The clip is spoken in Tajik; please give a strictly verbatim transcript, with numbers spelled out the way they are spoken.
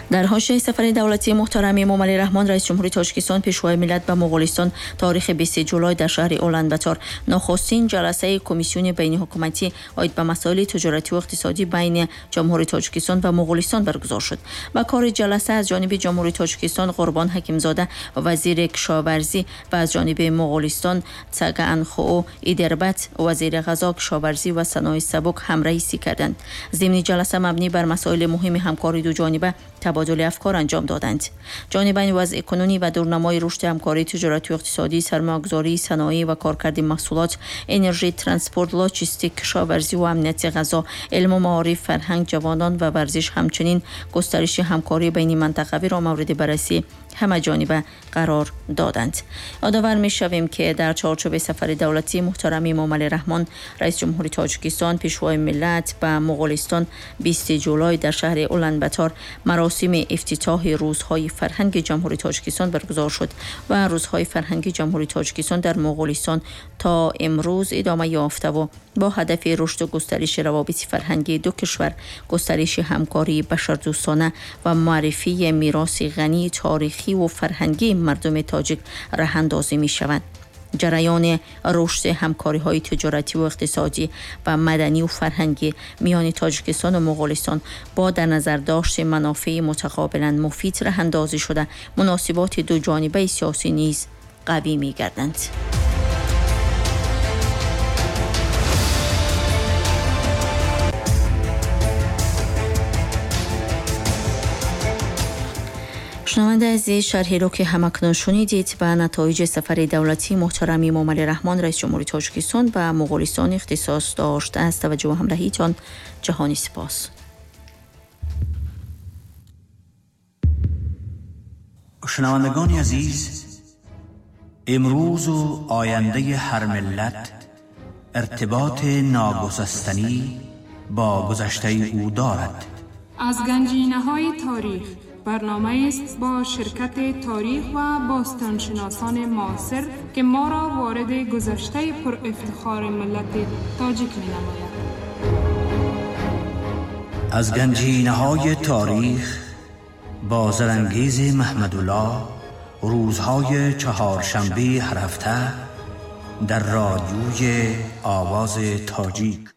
Дар ҳошияи сафари давлатии муҳтарами Эмомалӣ Раҳмон, раиси ҷумҳури Тоҷикистон, пешвои миллат ба Моғулистон таорихи бистуми ҷулай дар шаҳри Уланбатор нахустин ҷаласаи комиссиони байниҳукуматӣ оид ба масоили тиҷоратӣ ва иқтисодӣ байни Ҷумҳурии Тоҷикистон ва Моғулистон баргузор шуд. Ба кори ҷаласа аз ҷониби Ҷумҳурии Тоҷикистон Қурбон Ҳакимзода, вазири кишоварзӣ, ва аз ҷониби Моғулистон Цагаанхуу Идербат, вазири ғизо, кишоварзӣ ва саноати сабук ҳамраисӣ карданд. Зимни ҷаласа мабнӣ бар масоили муҳими ҳамкории дуҷониба табодули афкор анҷом доданд. Ҷонибайн вазъи кунунӣ ва дурнамои рушди ҳамкории тиҷоратию иқтисодӣ, сармоягузорӣ, саноӣ ва коркарди маҳсулот, энержӣ, транспорт, лоҷистик, кишоварзӣ ва амнияти ғизо, илму маориф, фарҳанг, ҷавонон ва варзиш, ҳамчунин густариши ҳамкории байнимантақавиро мавриди баррасӣ ҳамаҷониба қарор доданд. Ёдовар мешавем, ки дар чорчӯби сафари давлатии муҳтарами Эмомалӣ Раҳмон, раиси ҷумҳури Тоҷикистон, пешвои миллат ба Моғулистон бистуми ҷулай дар шаҳри Уланбатор маросими ифтитоҳи рӯзҳои фарҳанги Ҷумҳурии Тоҷикистон баргузор шуд ва рӯзҳои фарҳанги Ҷумҳурии Тоҷикистон дар Моғулистон то имрӯз идома ёфтаву бо ҳадафи рушду густариши равобити фарҳангии ду кишвар, густариши ҳамкории башардӯстона ва муаррифии мероси ғании таърихӣ ва фарҳангии мардуми тоҷик роҳандозӣ мешаванд. Ҷараёни рушди ҳамкориҳои тиҷоратӣ ва иқтисодӣ ва маданӣ ва фарҳангӣ миёни Тоҷикистон ва Моғулистон бо дар назардошти манофеи мутақобилан муфид роҳандозӣ шуда, муносиботи дуҷонибаи сиёсӣ низ қавӣ мегарданд. Шунавандаи азиз, шарҳеро ки ҳамакнун шунидед ба натоиҷи сафари давлатии муҳтарами Эмомалӣ Раҳмон, раиси ҷумҳури Тоҷикистон ба Моғулистон ихтисос дошт. Аз таваҷҷӯҳу ҳамроҳитон ҷаҳони сипос. Шунавандагони азиз, имрӯзу ояндаи ҳар миллат иртиботи ногусастанӣ бо гузаштаи ӯ дорад. Аз ганҷинаҳои таърих барнома است با شرکت تاریخ و باستانشناسان معاصر که ما را وارد گذشته پر افتخار ملت تاجیک می نماید. از گنجینه‌های تاریخ با زرنگیز محمدالله، روزهای چهارشنبه هر هفته در رادیوی آواز تاجیک.